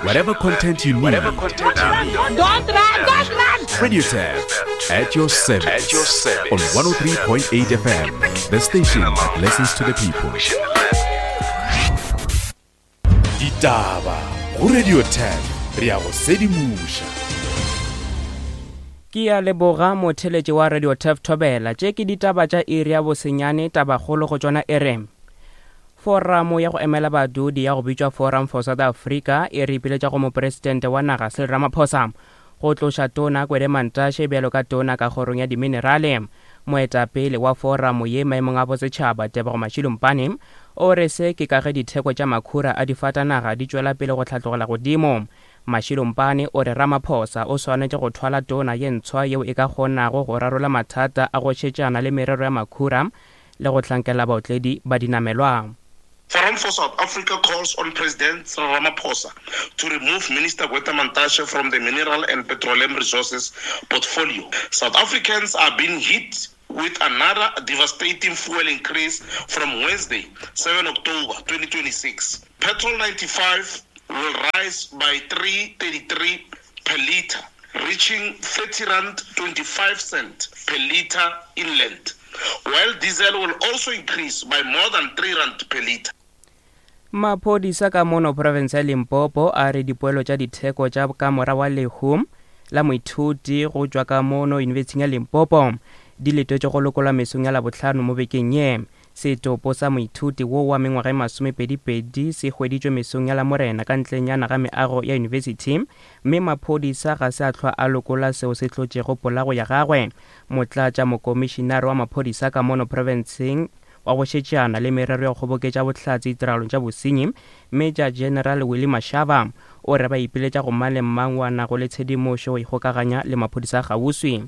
Whatever content you need. Don't run, don't run! Radio Tap at your service. At your service. On 103.8 FM, the station that listens to the people. Ditaba go Radio Tap re a go sedimoša. Ke a leboga motheletši wa Radio Tef Thobela. Tše ke ditaba tša iri ya bosenyane, tabakgolo go tšona e re Foramo ya go emela badudi ya go bitšwa Forum for South Africa e re ipiletša go Mopresidente wa naga Cyril Ramaphosa go tloša Tona Gwede Mantashe bjalo ka Tona ka kgorong ya Diminerale. Moetapele wa foramo ye maemong a bosetšhaba Tebogo Mashilumpane o re se ke ka ge ditheko tša makhura a difatanaga di tšwela pele go hlatlogela godimo. Mashilumpane o re Ramaphosa o swanetše go thwala tona ye ntshwa yeo e ka kgonago go rarolla mathata a go šetšana le merero ya makhura le go hlankela baotledi ba dinamelwa. Forum for South Africa calls on President Cyril Ramaphosa to remove Minister Gwede Mantashe from the Mineral and Petroleum Resources portfolio. South Africans are being hit with another devastating fuel increase from Wednesday, 7 October 2026. Petrol 95 will rise by 3.33 per litre, reaching 30 rand 25 cent per litre inland, while diesel will also increase by more than 3 rand per litre. Maphodisa ka mono profense ya Limpopo a re dipoelo tša ditheko tša ka mora wa lehu la moithuti go tšwa ka mono Yunibesithing ya Limpopo di letetšwe go lokolwa mesong ya Labohlano mo bekeng ye. Setopo sa moithuti wo wa mengwaga e masomepedipedi se hweditšwe mesong ya Lamorena ka ntlenyana ga meago ya yunibesithi mme maphodisa ga se a hlwa a lokola seo se hlotšego polago ya gagwe. Motlatša mokomišinare wa maphodisa ka mono profenseng wa go šetšana le merero ya go kgoboketša bohlatse ditiragalong tša bosenyi, Major General Willie Mashaba, o re ba ipiletša go mang le mang wa nago le tshedimošo go ikgokaganya le maphodisa a kgauswi.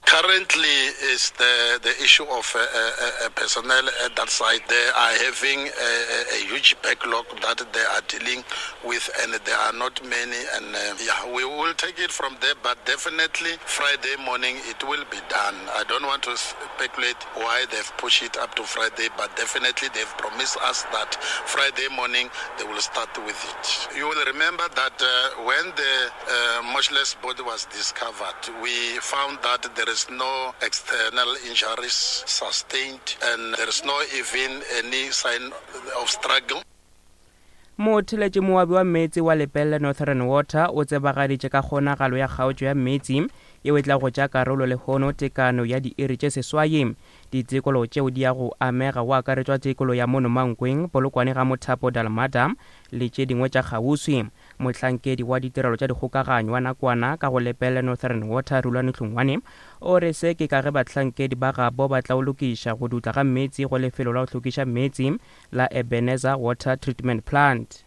Currently is the, the issue of uh, uh, uh, personnel at that site. They are having a, a, a huge backlog that they are dealing with, and there are not many. And uh, yeah, we will take it from there, but definitely Friday morning it will be done. I don't want to speculate why they've pushed it up to Friday, but definitely they've promised us that Friday morning they will start with it. You will remember that uh, when the uh, motionless body was discovered, we found that there is no external injuries sustained and there is no even any sign of struggle. Motheletši moabi wa meetse wa Lepelle Northern Water o tsebagaditše ka kgonagalo ya kgaotšo ya meetse yeo e tla go tša karolo lehono tekano ya diiri tše seswai. Ditekolo tšeo di ya go amega go akaretšwa tekolo ya mono Mankweng, Polokwane ga Mothapo Dalmada le tše dingwe tša kgauswi. Mohlankedi wa ditirelo tša dikgokaganyo wa nakwana ka go Lepelle Northern Water Rulani Hlongwane o re se ke ka ge bahlankedi ba gabo ba tla o lokiša go dutla ga meetse go lefelo la go hlokiša meetse la Ebenezer Water Treatment Plant.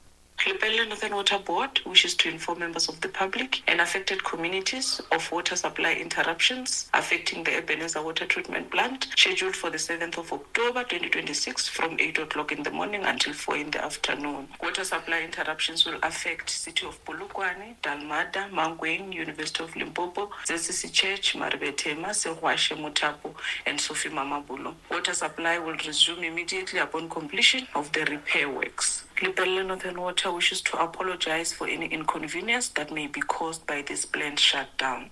Lepelle Northern Water Board wishes to inform members of the public and affected communities of water supply interruptions affecting the Ebenezer Water Treatment Plant scheduled for the 7th of October 2026 from 8 o'clock in the morning until 4 in the afternoon. Water supply interruptions will affect city of Polokwane, Dalmada, Mankweng, University of Limpopo, ZCC Church, Maribethema, Segwashe, Mothapo and Sophie Mamabolo. Water supply will resume immediately upon completion of the repair works. Lepelle Northern Water wishes to apologize for any inconvenience that may be caused by this planned shutdown.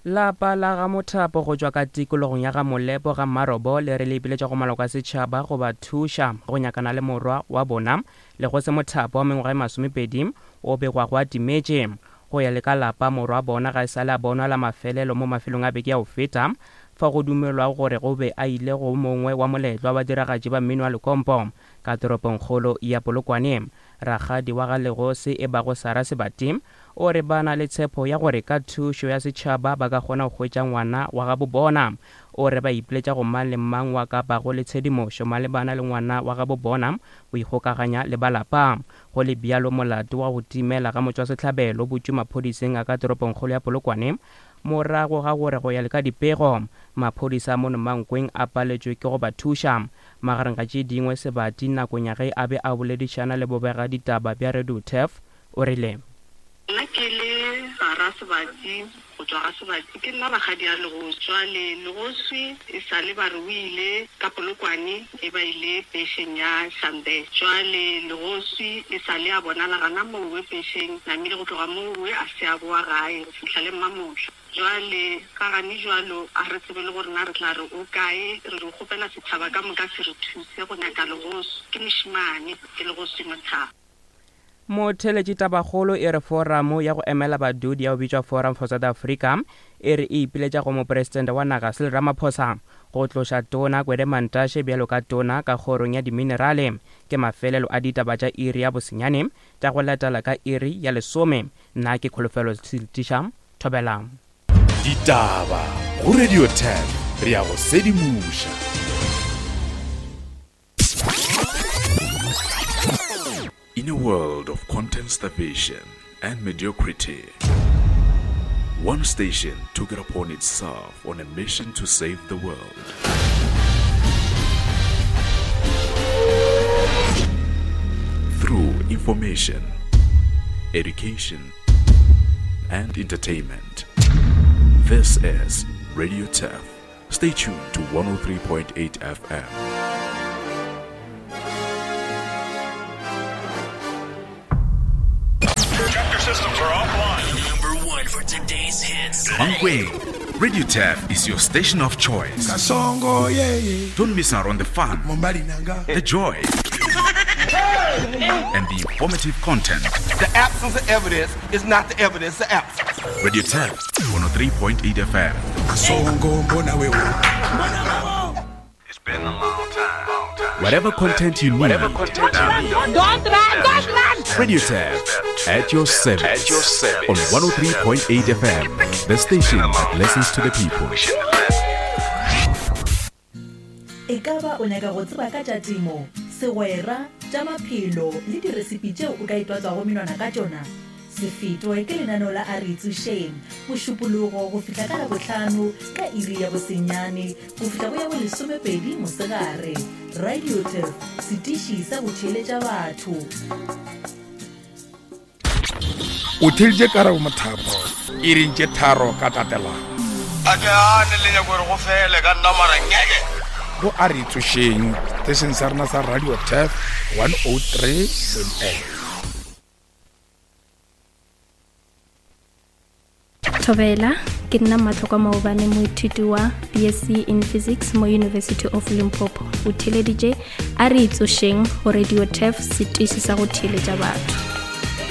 Lapa la ga Mothapo go tšwa ka tikologong ya ga Molepo ga Mmarobo le re le ipiletša go maloko a setšhaba go ba thuša go nyakana le morwa wa bona Legose Mothapo wa mengwaga e masomepedi o begwago a timetše. Go ya le ka lapa, morwa wa bona ga e sa le a bonwa la mafelelo mo mafelong a beke ya go feta fao go dumelwago gore o be a ile go mongwe wa moletlo wa badiragatši ba mmino wa lekompo ka toropongkgolo ya Polokwane. Rakgadi wa ga Legose e bago Sarah Sebati O re ba na le tshepo ya gore ka thušo ya setšhaba ba ka kgona go hwetša ngwana wa gabo bona. O re ba ipiletša go mang le mang wa ka bago le tshedimošo malebana le ngwana wa gabo bona go ikgokaganya le ba lapa. Go le bjalo, molato wa go timela ga motšwasehlabelo o butšwe maphodiseng a ka toropongkgolo ya Polokwane morago ga gore go ya le ka dipego, maphodisa a mono Mankweng a paletšwe ke go ba thuša. Magareng ga tše dingwe, Sebati nakong ya ge a be a boledišana le bobegaditaba bja Radio Turf, o rile. Nna ke le Sara. Sebatsi go tšwa ga Sebatsi. Ke nna rakgadi ya Legoswi. Jwale Legoswi e sa le ba re o ile ka Polokwane e ba ile pešeng ya Shambe. Jwale Legoswi e sa le a bonala gana mowe pešeng namile go tloga mowe a se a boa gae go fihla le mmamohla. Jwale ga gane jwalo a re tsebe le gore na re tla re o kae. Re re kgopela setšhaba ka moka se re thuse go nyaka Legoswi. Ke mošemane, ke Legoswi Mothaba. Motheeletši Tabakgolo e re Foramo ya go emela badudi ya go bitšwa Forum for South Africa e re e ipiletša go Mopresidente wa naga Cyril Ramaphosa go tloša Tona Gwede Mantashe bjalo ka Tona ka kgorong ya diminerale. Ke mafelelo a ditaba tša iri ya bosenyane tša go latela ka iri ya lesome. Nna ke Kholofelo Siltisha. Thobela. Ditaba go Radio 10 re ya go sedimoša. In a world of content starvation and mediocrity, one station took it upon itself on a mission to save the world. Through information, education, and entertainment. This is Radio Turf. Stay tuned to 103.8 FM. Check your systems are offline. Number one for today's hits. Mankweng, Radio Turf is your station of choice. Kasongo, yeah, yeah. Don't miss out on the fun, the joy, and the informative content. The absence of evidence is not the evidence of absence. Radio Turf, 103.8 FM. Kasongo, mbona wewe. It's been a long time. Long time. Whatever content you need, Whatever content you need. Don't run! Don't run! Radio Turf at your service. At your service. On 103.8 FM, the station that listens to the people. We shouldn't have left. E ka ba o nyaka go tseba ka tša temo, segwera, tša maphelo le diresipi tšeo o ka itwatswago menwana ka tšona? Se fetwe ke lenaneo la A Re Itsošeng, Mošupologo go fihla ka Labohlano ka iri ya bosenyane go fihla go ya bolesomepedi mosegare. Radio Turf, setiši sa go theeletša batho. O theeditše Karabo Mothapo iring tše tharo ka tatelano. A ke gane le nyako gore go fele ka nna mara ngeke. Go a re tsošeng setešeng sa rena sa Radio Turf 103.8. Thobela, ke nna Matlokwa Maobane moithuti wa BSc in Physics mo University of Limpopo. O theeleditše a re itsošeng go Radio Turf setiši sa go theeletša batho.